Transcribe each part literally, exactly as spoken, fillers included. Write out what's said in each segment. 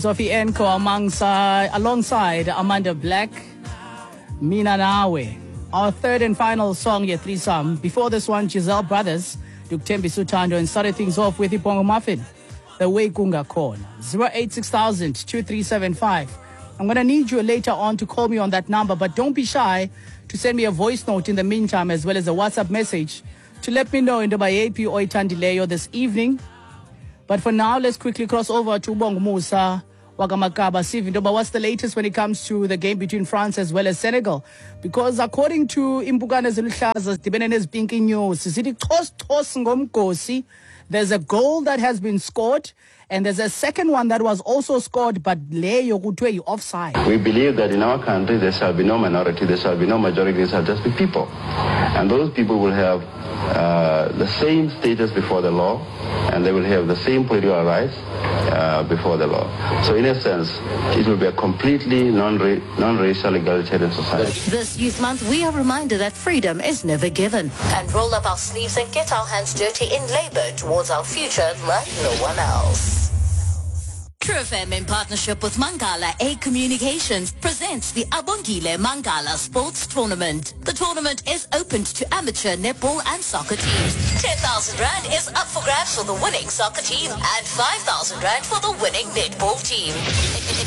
Sophie Enko alongside, alongside Amanda Black, Mina Nawe. Our third and final song, ye threesome. Before this one, Giselle Brothers, Dukuthembisa Uthando, and started things off with Ibongo Muffin, The Way Kungakhona. zero eight six thousand two three seven five. I'm going to need you later on to call me on that number, but don't be shy to send me a voice note in the meantime, as well as a WhatsApp message to let me know in the yeyiphi oyithandileyo this evening. But for now, let's quickly cross over to Bongumusa wakaMakaba. Sive intoba what's the latest when it comes to the game between France as well as Senegal? Because according to Impukane Eziluhlaza zidibene nezipinki news, sithi chos chos ngomgosi, there's a goal that has been scored and there's a second one that was also scored, but leyo kuthiwe yi-offside. We believe that in our country there shall be no minority, there shall be no majority, there shall just be people. And those people will have uh, the same status before the law, and they will have the same political rights uh, before the law. So in a sense, it will be a completely non-ra- non-racial egalitarian society. This Youth Month, we are reminded that freedom is never given. And roll up our sleeves and get our hands dirty in labor towards our future like no one else. True F M in partnership with Mangala A Communications presents the Abongile Mangala Sports Tournament. The tournament is open to amateur netball and soccer teams. ten thousand rand is up for grabs for the winning soccer team and five thousand rand for the winning netball team.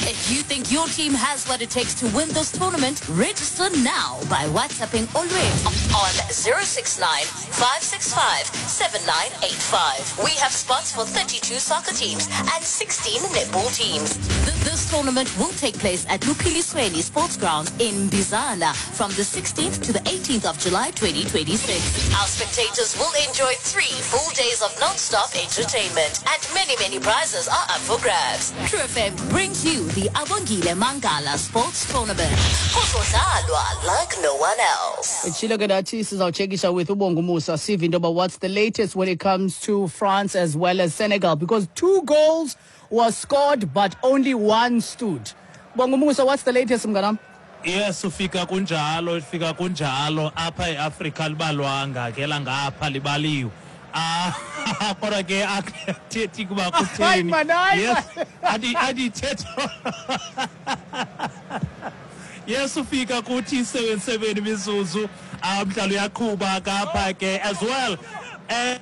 If you think your team has what it takes to win this tournament, register now by WhatsApping Olwethu on zero six nine, five six five, seven nine eight five. We have spots for thirty-two soccer teams and sixteen netball teams. This tournament will take place at Luphilisweni Sports Ground in Bizana from the sixteenth to the eighteenth of July twenty twenty-six. Our spectators will enjoy three full days of non-stop entertainment and many, many prizes are up for grabs. True F M brings you the Abongile Mangala Sports Tournament. Kuzodlalwa like no one else. Itshilo ke nathi sizawutshekisha with uBongumusa sive intoba what's the latest when it comes to France as well as Senegal, because two goals was scored but only one stood. Bongumusa, what's the latest mnganam? Yes, ufika kunjalo, ufika kunjalo apha eAfrika libalwanga ke langapha libaliwe. Ah, kodwa ke akuthethi kuba kutheni. Yes, adi adithetho. Yes, ufika kuthi seven seven imizuzu umdlalo uyaqhuba kapha ke as well. Eh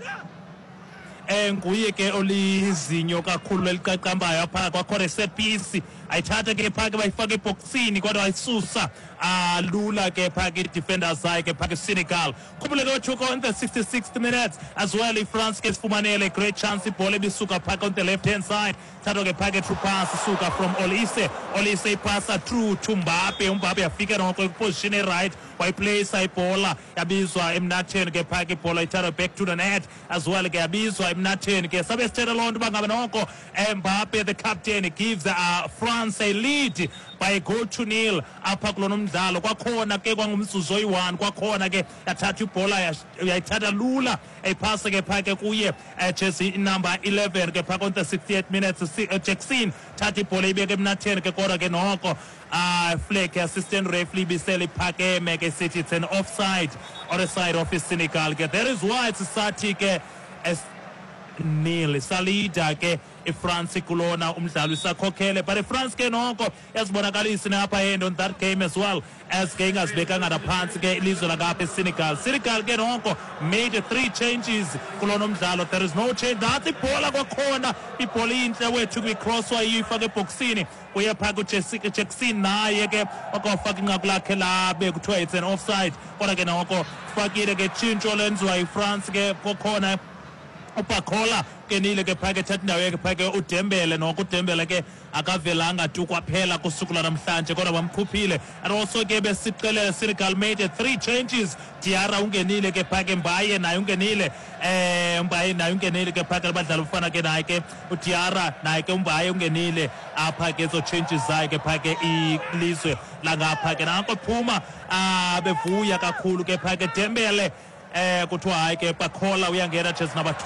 nguye ke olizinyo kakhulu eliqaqambayo apha kwakhona set piece ayithatha ke phake bayifaka eboxini kodwa ayisusa alula ke phake defenders zakhe phake Senegal. Khumbule ke uchuko on the sixty-sixth minutes as well iFrance ke sifumanele great chance ibhola ebisuka phake on the left hand side thatha ke phake through pass suka from Olise. Olise ipasa through to Mbappe. Mbappe afika noko position right wayiplace ibhola yabizwa emnatheni ke phake ibhola ithatha back to the net as well ke yabizwa emnatheni ke sabe sithetha loo nto uba ngabe noko Mbappe the captain gives uh, France a lead by a goal to nil apha kulona umdlalo. Kwakhona ke kwangumzuzu oyi-one kwakhona ke yathatha ibhola yayithatha lula eyiphasa ke phake kuye jersey number eleven ke phake on the sixty-eight minutes Jackson thatha ibhola ibeke emnatheni ke kodwa ke noko uh, flag assistant referee ibisele iphakeme ke sithi it's an offside on the side of Senegal ke. That is why it's sathi ke as nil salida ke iFrance kulona umdlalo isakhokhele, but iFrance ke noko yazibonakalisa apha end on that game as well as ke ingazibekanga naphansi ke ilizwe langapha eSenegal. Senegal ke noko made three changes kulona umdlalo. There is no change. That's ibhola kwakhona ibhola intle wethu kwi-cross wayifaka eboxini uye phaka uJackson naye ke wakafaka inqaku lakhe labe kuthiwa it's an offside kodwa ke noko fakile ke tshintsho lenziwa yiFrance ke kwakhona uBakola kenile ke phake thatha indawo yakhe phake uDembele noko uDembele ke akavelanga tu kwaphela kusuku lwanamhlanje kodwa bamkhuphile. And also ke besixelele Senegal made three changes. Diarra ungenile ke phake Mbaye naye ungenile eh Mbaye naye ungenile ke phake abadlali ufana ke naye ke uDiarra naye ke uMbaye ungenile apha ke zo changes zakhe phake ilizwe langapha ke nanko phuma bevuya kakhulu ke phake Dembele eh kuthiwa hayi ke Bakola uyangena jersey number two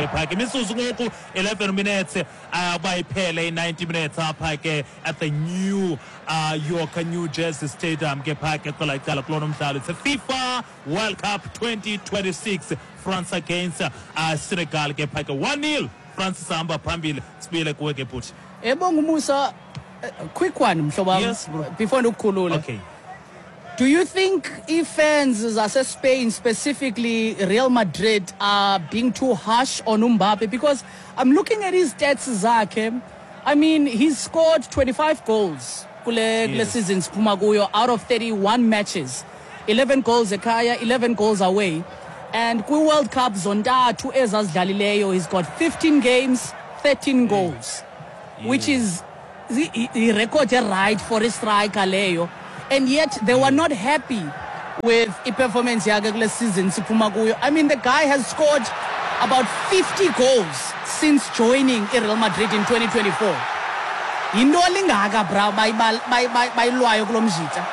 phake imizuzu ngoku eleven minutes uba iphele i-ninety minutes apha ke at the New uh, York New Jersey Stadium ke phake kwela icala kulona umdlalo. It's a FIFA World Cup twenty twenty-six, France against uh, Senegal ke phake one nil France isahamba phambili. Sibuyele kuwe ke bhuti. Ebonga Musa, quick one mhlobo wam. Yes, bro. Before ndikukhulule. Okay. Do you think if-fans zase-Spain, specifically Real Madrid, are being too harsh on Mbappe? Because I'm looking at his stats zakhe. I mean, he's scored twenty-five goals kule, kule Yes. season siphuma kuyo out of thirty-one matches. eleven goals ekhaya, eleven goals away. And kwi-World Cup zontathu ezazidlalileyo, he's got fifteen games, thirteen goals, which is i-record right for a striker leyo. And yet they were not happy with i-performance yakhe kule season siphuma kuyo. I mean, the guy has scored about fifty goals since joining Real Madrid in twenty twenty-four. Yinto lingaka bra bayilwayo kulo mjita.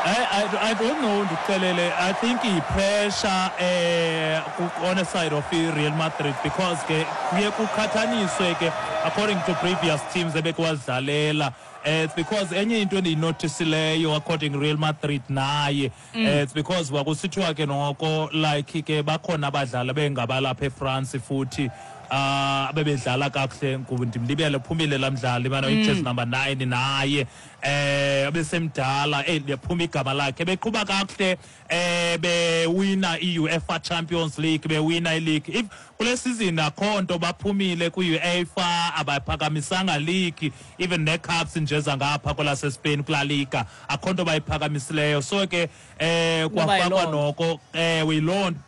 I, I, I don't know, ndikuxelele. I think i-pressure eh, on the side of Real Madrid, because ke kuye kuqhathaniswe ke according to previous teams ebekwadlalela. Eh, it's because enye into endiyinotisileyo according Real Madrid naye, Mm. eh, it's because kwakusithiwa ke noko like ke bakhona abadlali bengabalapha eFrance futhi ah abebedlala kakuhle. Ndimlibele phumile laa mdlali bana Mm. i-jersey number nine naye eh abesemdala, eh liyaphuma igama lakhe, beqhuba kakuhle eh bewina i-UEFA Champions League, bewina i-league. If kule season akho nto, baphumile kwi-UEFA, abaphakamisanga league, even nee-cups nje zangapha kwelaseSpain kulaa liga akho nto bayiphakamisileyo. So ke eh Noba kwafakwa yiloo nto. noko eh yiloo nto.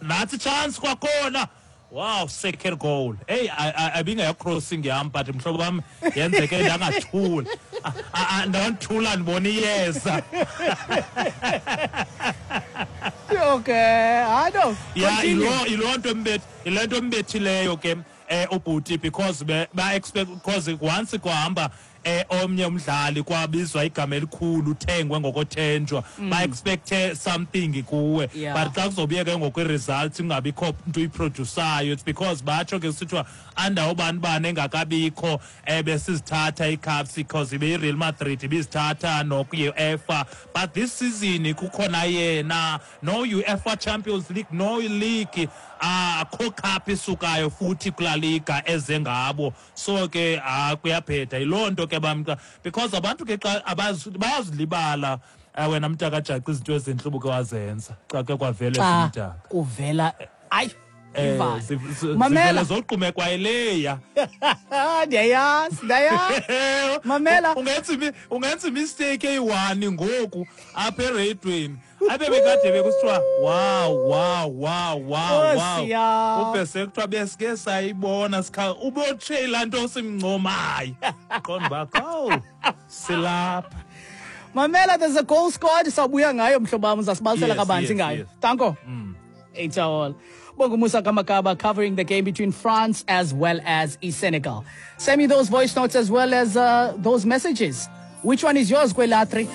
Nathi chance kwakhona. Wow, second goal. Hey, ibingeyo-crossing yam, but mhlobo wam yenzeke ndangathula. Ndangathula ndibona iyeza. Okay, I know. Yeah, Continue. yiloo yiloo nto embeth yile nto embethileyo ke eh ubhuti, because be ba expect, because once kwahamba eh omnye umdlali kwabizwa igama elikhulu uthengwe ngokothenjwa, ba expect something kuwe. Yeah. But xa kuzobuye ke ngoku i-results kungabikho nto uyiprodusayo, it's because batsho ke kusithiwa andawo bani bani engakabikho eh besizithatha ii-cups, because ibe-Real Madrid ibizithatha noku-UEFA, but this season kukhona yena, no UEFA Champions League, no league, akho cup isukayo futhi kulaa liga eze ngabo. So ke ah kuyabheda. Yiloo nto ke bamka, because abantu ke xa abazi- bayazilibala eh, wena mntakajaca izinto ezintle ubuke wazenza xa ke kwavela Xa ezimdaka. kuvela ayi Eh, ivale. zi- zi- Mamela. zivele zogqume kwayileya. Ndiyayazi, ndiyayazi. Mamela. Ungenza imi- ungenza imistake eyi-one ngoku apha ereyidweni, abe bekade bekusithiwa wow wow wow wow wow, Nkosi yam. ube sekuthiwa besike sayibona sikha ubotshe laa nto simncomayo, qonda uba kowu silapha. Mamela, there's a goal scored. Sawubuya ngayo mhlobo wam, uzasibalisela Yes, kabanzi yes, ngayo. yes. Danko. It's all. Bongo Musa Kamakaba covering the game between France as well as Senegal. Send me those voice notes as well as uh, those messages. Which one is yours, Kwela three?